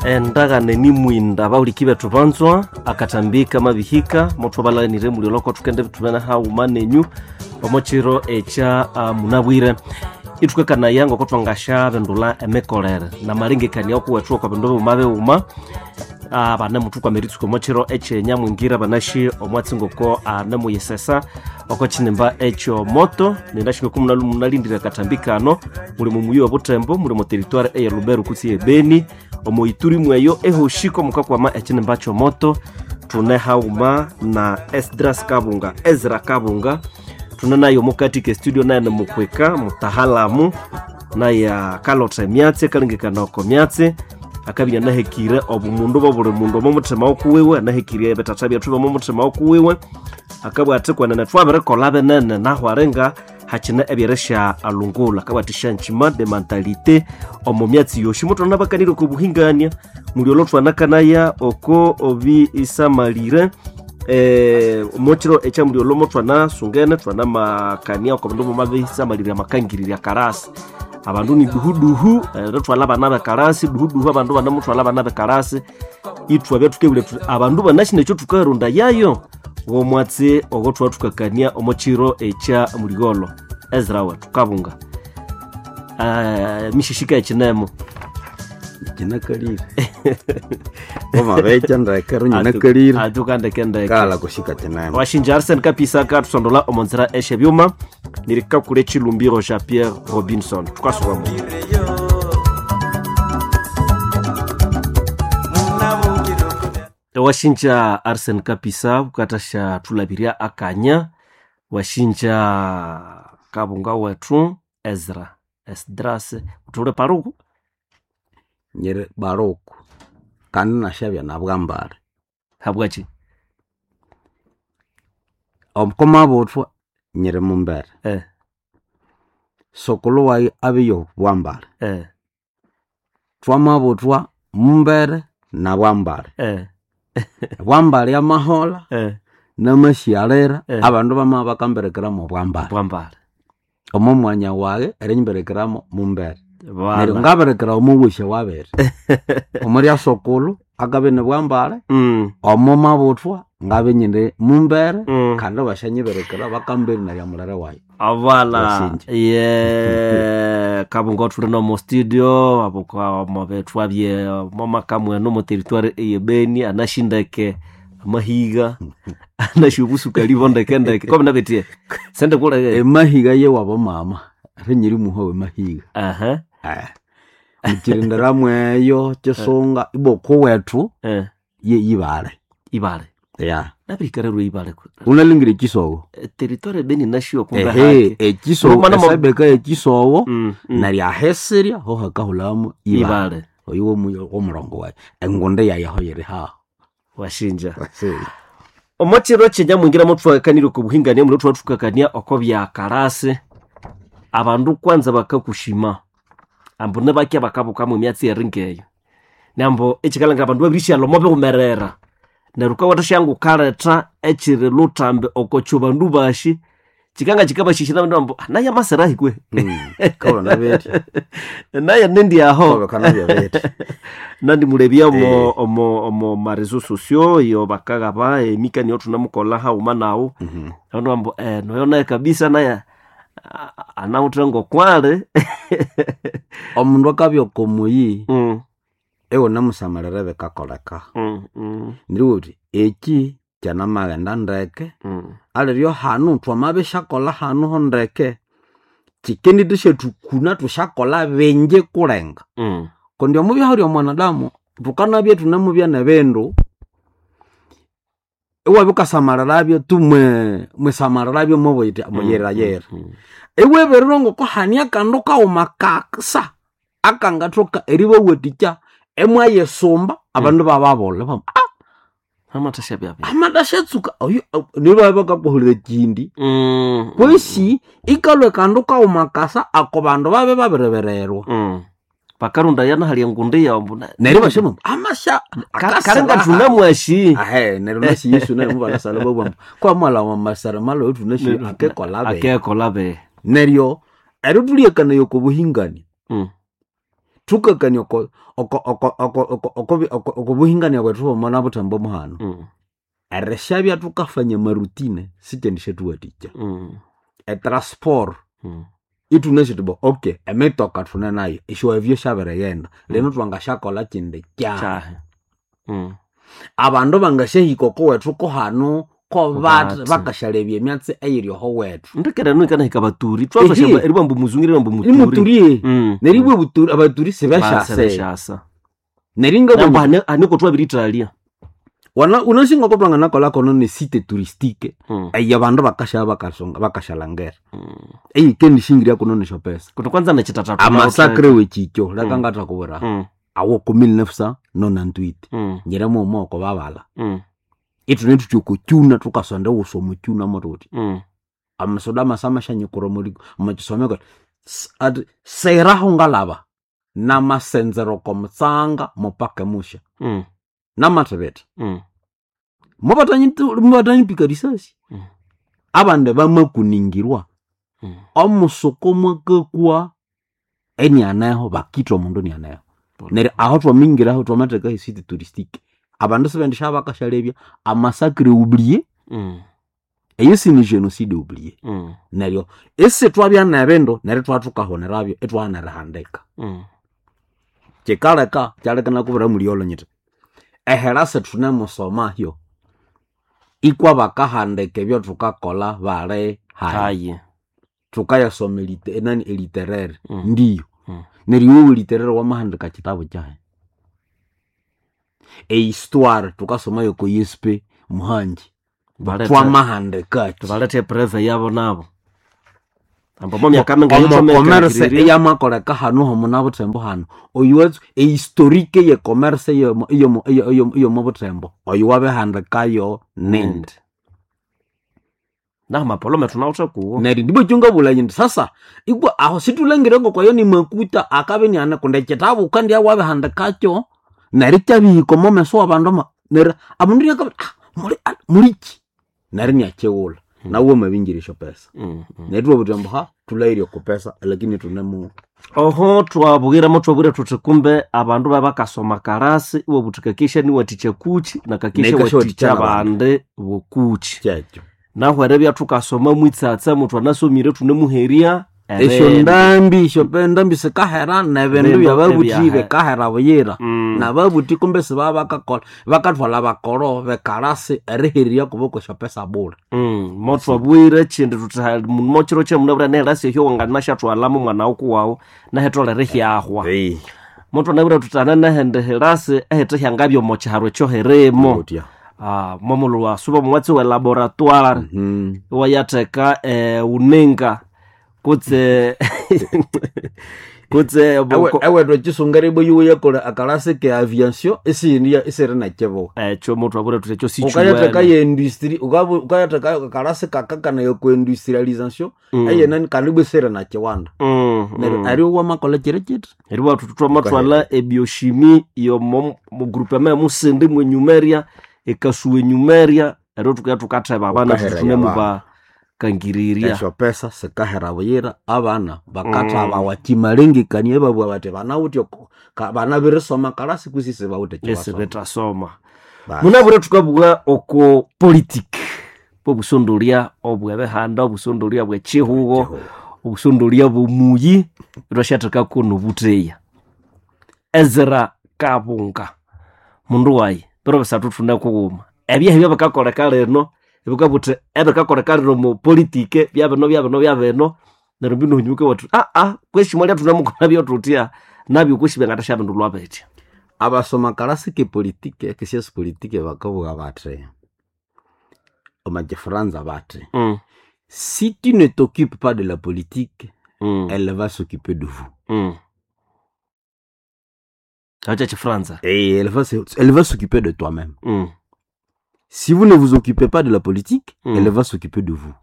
Endagane nimwinda abahuliki bethu banzwa akathambi kamabihika mothu abalanire muli oloko thukende thubene haghuma nenyu omo kiro ekya munabwire. Ithukakanaya ngoko thwangasya bindulha emikolere namalengekania okuwethu okwa bindu bighuma bighuma banemuthukwama eritsuka omo kiro ekyenya mwingira banashi omwatsi ngoko anemuyisesa oko kinimba ekyomoto ninashinga oku munalindire akathambi kano muli mumuyi obutembo muli mu territoire eye Lubero kutse ye Beni omo Ituri mweyo ehoshiko mukakwama ekinimba kyomoto thune haghuma na Esdras Kabunga Ezra Kabunga thune naye omukati ke studio naye nimukwika mutahalamu naye akalotha emyatsi akalengekana oko myatsi akabya anahekire obumundu bwabuli mundu omo muthima wokuwiwe anahekire ebithatha byethu byomo muthima wokuwiwe akabugha athi kwenene thwabirikolha binene nahu aringa hakine ebyerisya alungula akabugha athi changement de mentalité omo myatsi yosi muthwana bakanire oko buhingania muli olho thwanakanaya oko obisamalire omokiro ekyamuli olho mothwanasungene thwanamakania oko bindu bimabisamalirya amakangirirya karasi abandu ni duhuduhu erithwalha abana bekarasi duhuduhu abandu banamuthwalha abana bekarasi ithwabya thukebulya thuthi abandu banasi nekyo thukarondayayo womwatsi ogo thwathukakania omo kiro ekya muligolo. Ezra wethu Kabunga mishishika ekinemo kinakalire wamabecha ndeke runyinakalire atukandekendeke kala kushika kinemo washinja Arsene Kapisa akathusondola omo nzira esyebyuma nirikakula echilumbiro ja Pierre Robinson thukasubamu. Washinja Arsene Kapisa bukathasya thulabirya akanya washinja Kabunga wethu Ezra Esdras uthule paruku nyiri baruku kandi nashabya nabwambale habwachi omukomabuthwa nyiri mumbere sokulu wayi abiyo bwambale thwamabuthwa mumbere na bwambale bwambale amahola namashyalira abandu bama bakamberekeramo bwambale bwambale omo mwanya wage erinyimberekeramo mumbere neryo bana ngaberekera omuwisha wabiri omurya sokulu akabe ni bwambale omo mabuthwa ngabe nyine mumbere kandi bashanyiberekera bakamberi narya mulere wayi avala Wasinja. ye Kabunga thuli nomo studio abuka mabethu abye momaka mwenu omo territoire eye Beni anashindeke amahiga anashubusuka libo ndekendeke kobi nabetie sende kule emahiga yewabo mama rinyiri muha wemahiga aha mukirindira mweyo kisunga iboko wethu ye ibale ibale ya nabirikarerwe ibale unalingira ekisowo territoire Beni nashiyo kumbe ehe hake ekisowo Mwana mo- esabeka ekisowo Mm. neryo ahesirya ho hakahulamu ibale ibale oyo womurongo wayi engunde yayi aho yiri haho washinja omo kiro kyenyamwingira muthwakanire oko buhingania mulio thwathukakania oko byakarasi abandu kwanza bakakushima ambu nibakya bakabukamu emyatsi eringeyo nambo ekikalhangira abandu babirisyalha omo biwumerera neryo wukawatha wukaletha ekiri luthambi oko kyo bandu bashi kikanga kikabashishira abandu ambu naye amasirahi kwe kabona beti naye nindi aho kabekana byabeti nandimulebya omo omo omo mareseaux sociaux iyo bakaghaba emikani thunamukolha haghuma nawu abandu bambu noyo naye kabisa naye anawithe ngokwali omundu akabya oko muyi iwunemusamalira ebikakoleka neryo wuthi eki kyanamaghenda ndeke aliryo hanu thwamabisyakolha hanu ho ndeke kikendithisyathukuna thusyakolha bingi kulenga kundi omubyaho lya mwanadamu thukanabya thunemubya nebindu iwabya wukasamalirabyo tu mwisamalirabyo mubuyiti muyirayira iwibirira ngoko hani akandu kaghuma kaksa akangathoka eribawathikya imwayisumba abandu bababulha bamu amathasya byabya amathashatsuka oyo neryo babya bakakuhulira ekindi kwesi ikalhwa akandu kaghuma kasa ako bandu babya babiribererwa bakarundaya nahali engundi yawu mbu neryo basyamu amasya kalinga thunamwashi ahe neryo nasi Yesu naye mubanasala babwamba kwamwala wamasara malo thunasi akekola be akekola be neryo eryo thulyekanayo oko buhingani Thukakania oko buhingania bwethu bwomona buthembo muhano. Erishabya thukafanya amarutine sikyendishathuwathikya. Etransport ithunasi thuthi okay, emitoka thune nayo, esyoavyo syabirighenda, lino thwangasyakolha kyindi kyahi. Abandu bangasyahika okowethu kohanu kobathi bakasyalebya emyatsi eyiri oho wethu. Ndekera enu ikanahika abaturi twasha eribwa mbu muzungu eribwa mbu muturi. Muturi. Neryo ibwa abaturi sibeshasa. Neryo nga aniko twabiritalia. Wana unasinga ko twanganakolha kono ne site touristique. Eya bandu bakasha bakasonga bakashalangera. Eyi kendishingiria kuno nesho pesa. Kuno kwanza nechitatatu. Amasakre wechikyo leka ngathakubwira. Awo ku 1998. Nyira mumo ko babala. Ithune thuthi okukyuna thukasonda wusa omukyuna mothuthi. Amasoda masamashanyikura omukisomeko ati seraho ngalaba namasenzero okomutsanga mupaka musha. Namathibitha. Mubatanyipika risasi. Abandi bamakuningirwa. Omusuku mwakakwa enianeho bakitha omundu enianeho. Neryo aho twamingiraho twamathekaho esite touristique. Abandu sibendisya bakashalebya amasakre oublié. Eyo sini genocide oublié. Neryo isi twabya nebindu neryo thwathukahonerabyo ithwaghana erihandika. Kyikaleka kyaleka nakubwira mulyolho nyithi ehera sithunemusomayo ikwa bakahandika ebyathukakolha bali hayi. Thukayasoma enani eliterere ndiyo. Neryo iwe eliterere wamahandika kyitabu kyahi? Ehistoire thukasoma yoko ISP Muhangi. Twamahandikaki? Balethe epreve yabo nabo. Ambo myaka minga commerce eyamakoleka hanu homuna buthembo hanu. Oyu ehistorique ye commerce eyomo buthembo. Oyu wabihandikayo nindi. Na mapolome thunawuthe kuwo. Neryo ndibwa kyungabulha nyithi sasa ikwa aho sithulangire ngokwayo ni makuta akabe niane kundi ekyitabu wukandya wabihandikakyo neryo ikyabihika omo meso wabandu neryo abandu niakabiri muliki neryo inyakighulha nawu wamabingira esyopesa. Neryo thwabugha thuthi ambu thulhaghire okupesa lakini thunemu oho twabwiremo twabwire thuthi kumbe abandu babakasoma karasi iwabuthi kakesha niwathikya kuchi na kakesha wathikya abandi bokuchi. Kyekyo. Nahu eribya thukasoma mwitsatsa muthu anasomire thunemuherya esyo ndambi esyo ndambi sikahera nebindu byababuthi bikahera buyira. Nababuthi kumbe sibaba bakakolha bakathwalha bakolo bekarasi erihererya kubo kwesyopesa bule. Mothwabwire ekyindi thuthi mokyiro kyamunabwire neherasi ehyo wanganasyathwalhamu omwana wukuwawu nahetholere ihyahwa. Mothwanabwire thuthi hananehindi herasi ehithe hyangabya omo kyiharu ekyohirimo. Momulhu wasuba omwatsi we laboratoire iwayatheka wuninga kutse kutse ewethu ekisunga eribwa yakolha akalasi ke aviation isiyindi isiri nekibuga. Ekyo mothwabwire thuthi ekyo sikyuwene. Ukayatheka ye industry ukayatheka akalasi kakakanaya okwa industrialisation eyenani kandi ibwa isiri nekiwanda. Neryo eryo wamakolha kyiri kyithi. Eribwa thuthi thwamathwalha ebioshimi yomo groupement emusindi mwenyumerya ekasuwa enyumerya eryo thukeya thukatheba abana thunemubakangirirya. Esyopesa sikahera buyira abana bakathabawa kyimalengekania ibabugha bathi banawithe banabirisoma kalasi kwisi sibawithe ekyibasoma. Esibithasoma. Munabwire thukabugha oko politiki bobusondolya obwebihanda, obusondolya bwekyihugho, obusondolya bwomuyi ithwasyathekako nobutheya. Ezra Kabunga mundu wayi biro bisathu thune kughuma ebyehu ebyabikakoleka lino ebikabuthi ebikakoleka lino omu politike byabino byabino byabino neryo mbino hunyuke wathu kwesi mwalya thunemukolha byothutya nabyo kwesi byangathasyabindulwa bitya. Abasoma kalasi ke politike kesiasi politike bakabugha bathi omu kifaransa bathi si tu ne t'occupes pas de la politique elle va s'occuper de vous. Acha Kifaransa. Et elle va s'occuper de toi-même. Si vous ne vous occupez pas de la politique, elle va s'occuper de vous.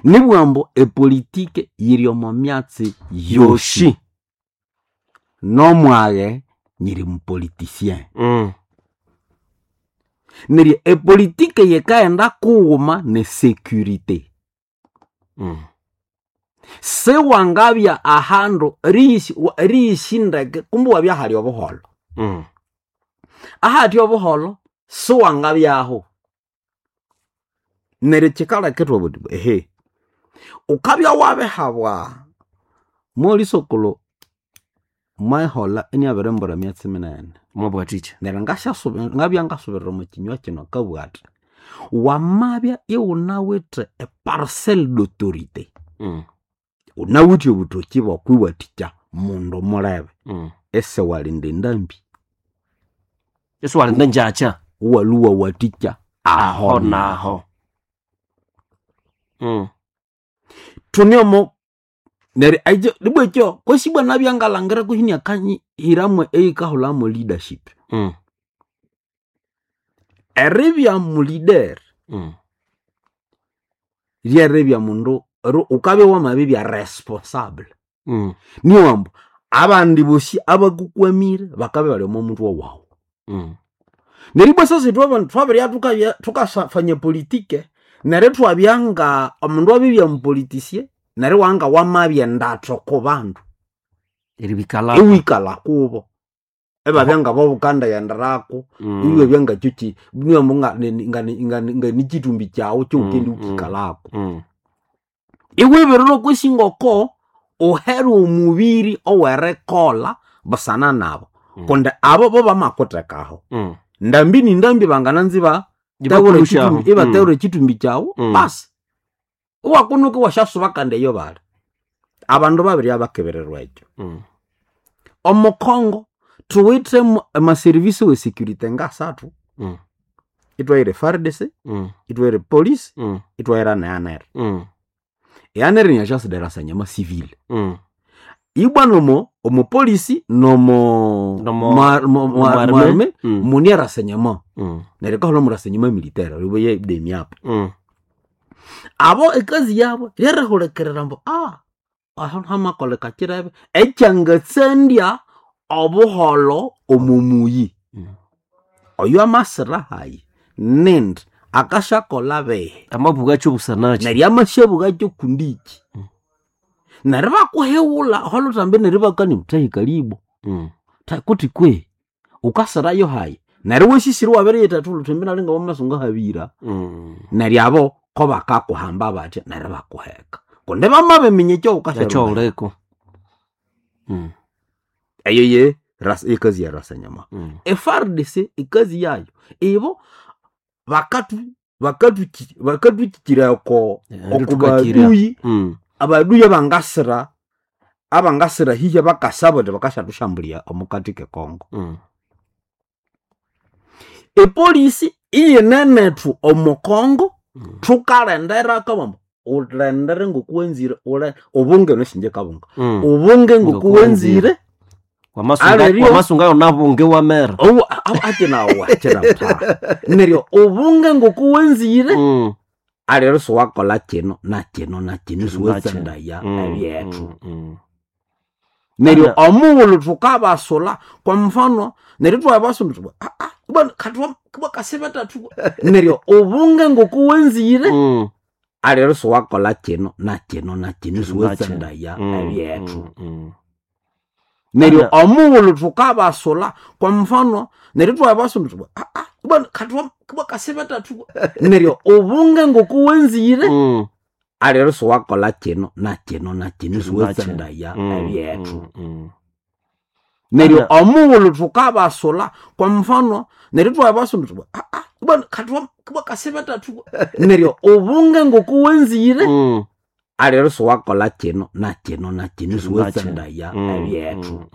Nibwambo epolitike yiri omo myatsi yoshi. Nomwaghe nyiri mupoliticien. Neryo epolitike yikaghenda kughuma ne sécurité. Siwangabya ahandu eriyishindeke kumbe wabya hali obuholo. Ahathi obuholo siwangabyaho. Neryo kyikaleka ithwabugha thuthi ehe wukabya wabihabwa molisokolo mwayiholha iniyabirimbwira emyatsi minene. Mwabwathikya. Neryo ngabya ngasubirira omwa kinywa kino akabugha athi wamabya iwunawithe e parcelle d'autorité wunawithe obuthoki bwokwiwathikya mundu mulebe isiwalinda endambi. Isiwalinda engyakya. Iwalhwa iwawathikya Aho aho naho. Thune omo neryo ekyo ibwa ekyo kwesi ibwa nabya ngalhangira kwihi inakanyihiramu eyikahulhamu leadership. Eribya muleader ryeribya mundu wukabya wamabibya responsable. Niyo ambu abandi bosi abakukwamire bakabya ibali omo muthwe wawu. Neryo ibwa sasa ithwe abandu thwabiribya thukabya thukafanya politike neryo ithwabya nga omundu abibya mupoliticien neryo iwabya wamabya endatho oko bandu. Eribikalako. Iwikalha kubo. Ibabya ngabo wukandaghenderako iwabya ngakyo niwambu nganikyithumbi kyawu kyawukendi wukikalhako. Iwibirira okwisi ngoko uhere omubiri owerikolha busana nabo kundi abo bo bamakuthekaho. Ndambi ni ndambi bangananza Ibakulusyaho. ibathewura ekyithumbi kyawu basi iwakunuka iwasyasuba kandi eyo bali. Abandu babiribya bakebererwa ekyo. Omo Congo thuwithe amaservice we security ngasathu. Ithwahira FARDC, ithwahira police, ithwahira ne ANR. E ANR ni agence de renseignement civil. Ibwa nomo omo polisi nomo arme mune renseignement. Neryo ikahulha mu renseignement militaire oyo demiap. Abo ekazi yabo ryerihulikirira ambu aho hamakoleka kirebe ekyangatsandya obuholho omo muyi. Oyo amasira hayi nindi akasyakolha bihi. Amabugha busana ki? Neryo amasyabugha kundiki. Neryo ibakuhighulha aholuthambi neryo ibakania thahika libo kuti kwehi wukasirayo hayi neryo iwasisira iwabiriyitha olhuthimbi nali ngawamasa ngahabira. Neryo abo kobakakuhamba bathya neryo ibakuheka kundi bamabiminya ekyawukasya Ekyawuliko. Eyo ye ekazi ya renseignement. E FARDC ekazi yayo ibo bakathukyikira oko baduyi abaduyi abangasira hihi bakasaba indi bakasyathushambulia omukati ke Congo. Epolisi iyinenethu omo Congo thukalhenderako ambu wulhendere ngokuwanzire ubunge nosinje kabunga ubunge ngokuwanzire Wamasunga yonabunge wamera. Akinawu akinamuthaha neryo ubunge ngokuwanzire alero siwakolha kino nakino nakino siwatsandaya ebyethu. Neryo omughulhu thukabasulha kwa mfano neryo ithwabasulha thuthi neryo ubunge ngokuwanzire alero siwakolha kino nakino nakino siwatsandaya ebyethu. Neryo omughulhu thukabasulha kwa mfano neryo ithwabasulha thuthi neryo ubunge ngokuwanzire alero siwakolha kino nakino nakino siwatsandaya ebyethu. Neryo omughulhu thukabasulha kwa mfano neryo ithwabasulha thuthi neryo ubunge ngokuwanzire alero siwakolha kino nakino nakino siwatsandaya ebyethu.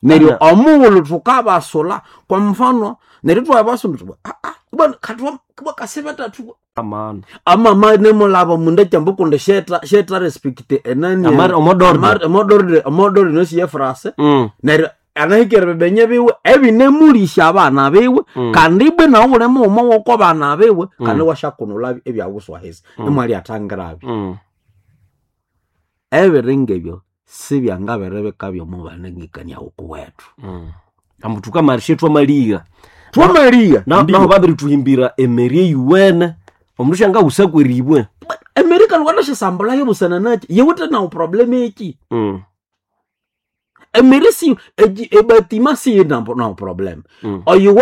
Neryo omughulhu thukabasulha kwa mfano neryo ithwabasulha thuthi amama nimulaba omundu ekyambu kundi syetha respect enani omodordre nosi yefrase neryo anahikere ebibenye biwe ebinemulisya abana biwe kandi ibwa nawu wuli mughuma woko bana biwe kandi iwasyakunulha ebyawuswa ahisi imwalyathangirabyo. Ebiri ngebyo sibyangabiribikabya omo banengekania wukuwethu. Ambu thukamalishya ithwamaligha. Thwamaligha Naho babirithuhimbira emeri eyuwene omundu syangawusa kweribwe. Emerika lwanashasambulayo busana naki yiwithe nawu problem eki. Emeri si ebatima siyina nawu problem. Oyo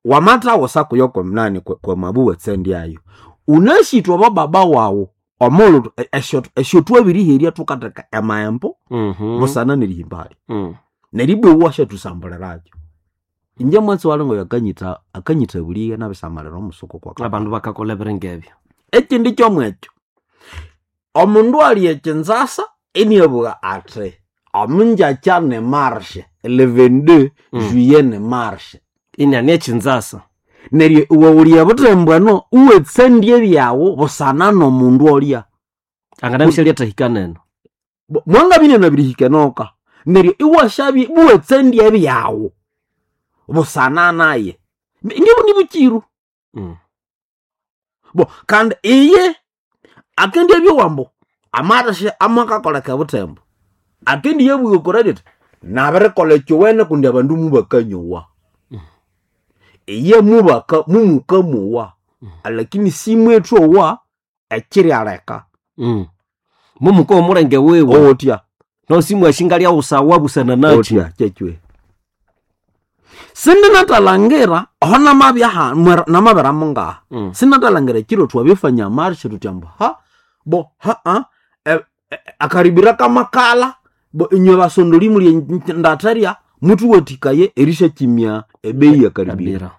wamatha sakuyo kwemnani kwemabu wetsendiayo unashitwa bababa wawu omulhu esyo twabiriherya tukatheka emaembo busana nerihimbalya. Neribwa washathusambuliracho inje mwatsi walingo yakanyitha akanyitha buliye nabisamalira omusuku kwa Abandu bakakola ebiringa ebyo. Ekindi kyomwekyo omundu ali ekinzasa iniabugha athi omunjakya ne marshe le 22 juillet ne marshe. Iniani ekinzasa. Neryo iwe wuli ebuthembu eno iwetsendya ebyawu busana nomundu olya. Anganabisya lyatahika neno. Mwangabine nabirihika enoka neryo iwashabye iwetsendya ebyawu busana naye ndibu nibukiru. Bo kandi iye akendi ebyowambo amarishe amakakoleka ebuthembu akendi yabugha okorariti nabirikolha ekyowene kundi abandu mubakanyowa. Iye mubaka mumukamowa lakini simwethowa ekiryaleka. Mumuka omulenge wiwe otya nosimwashinga lyawusawa busana nakyi. Otya kyekyo sindinathalangira aho namabya namabira mungaha. Sinathalangira ekiro twabifanya marshe thuthi ambu ha bo haa akaribira kamakala bo inywe basondoli muli ndatherya muthuwathikaye erisyakimya ebeyi yakaribira. Kabira.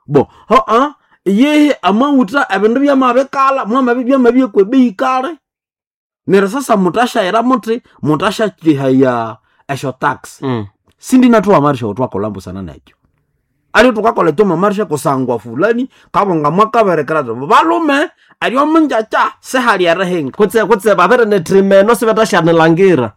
Bo haa yehe amawutha ebindu byamabikala mwamabi byamabyekwa ebeyi kale neryo sasa muthashayira muthi muthashakyihaya esyo tax. Sindinathuwa marsha otwakolha busana nekyo alio thukakolha ekyoma marsha kusangwa fulani kabonga mwakaberekera ati balume eryo munjakya sihali erihinga. Kutse babere nethima eno sibathasyanilhangira.